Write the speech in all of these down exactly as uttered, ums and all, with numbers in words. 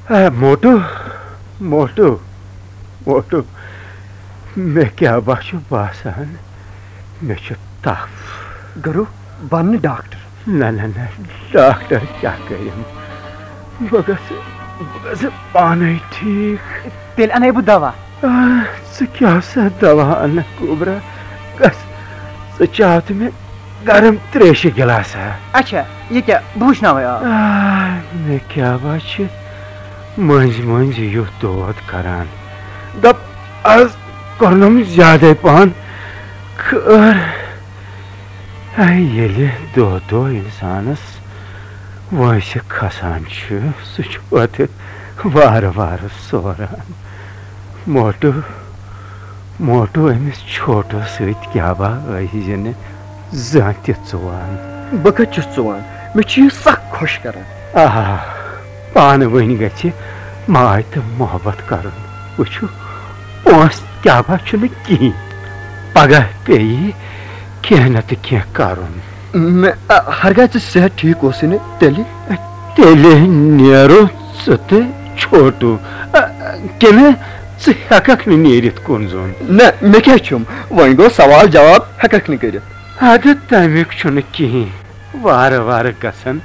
A motto, motto, motto, مےٚ کیٛاہ با چھُ باسان؟ مےٚ چھُ تپھ۔ گرو، بہٕ انہٕ ڈاکٹر۔ نہ، نہ، نہ، ڈاکٹر کیٛاہ کٔرِم؟ بہٕ گژھٕ، بہٕ گژھٕ پانے ٹھیٖک۔ تیٚلہِ اَنے بہٕ دوا۔ آ، ژٕ کیٛاہ سا دوا اَنکھ گوبرا؟ گژھ، ژٕ چاو تہٕ مےٚ گرم تریشہِ گِلاسا۔ اچھا، یہِ کیٛاہ؟ بہٕ وٕچھناوَے آب۔ آ، مےٚ کیٛاہ با چھِ مٔنٛزۍ مٔنٛزۍ یُتھ دود کران۔ دپ، از کوٚرنم زیادے پہن۔ خٲر، اے، ییٚلہِ دۄہ دۄہ انسانس وٲنٛسہِ کھسان چھُ، سُہ چھُ پتہٕ وارٕ وارٕ سوران۔ موٹو، موٹو، أمِس چھوٹو سۭتۍ کیٛاہ با ٲسۍ زِ نہٕ زانٛہہ تہِ ژُوان۔ بہٕ کتہِ چھُس ژُوان؟ مےٚ چھُ یہِ سخ خۄش کران۔ آ، پانہٕ ؤنۍ گژھِ ماے تہٕ محبت کرُن۔ وٕچھِو، پونٛسہٕ کیٛاہ با چھُنہٕ کِہیٖنۍ۔ پگاہ پیٚیہِ کینٛہہ نتہٕ کینٛہہ کرُن۔ مےٚ، آ، ہرگاہ ژٕ صحت ٹھیٖک اوسُے نہٕ، تیٚلہِ؟ تیٚلہِ نیرو ژٕ تہٕ چھوٹو۔ آ، کِنہٕ ژٕ ہٮ۪ککھ نہٕ نیٖرِتھ کُن زوٚن؟ نہ، مےٚ کیٛاہ چھُم؟ وۄنۍ گوٚو سوال جواب ہٮ۪ککھ نہٕ کٔرِتھ۔ اَدٕ تَمیُک چھُنہٕ کِہیٖنۍ۔ وارٕ وارٕ گژھن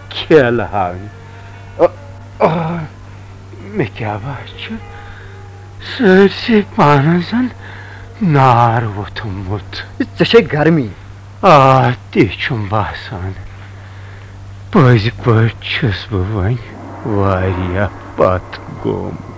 کھیلہٕ ہاونہِ۔ آ، آ، مےٚ کیٛاہ باسہِ چھُ، سٲرسٕے پانس زن نار ووٚتھمُت۔ ژےٚ چھے گرمی۔ آ، تی چھُم باسان۔ پٔزۍ پٲٹھۍ چھُس بہٕ وۄنۍ واریاہ پتھ گوٚمُت۔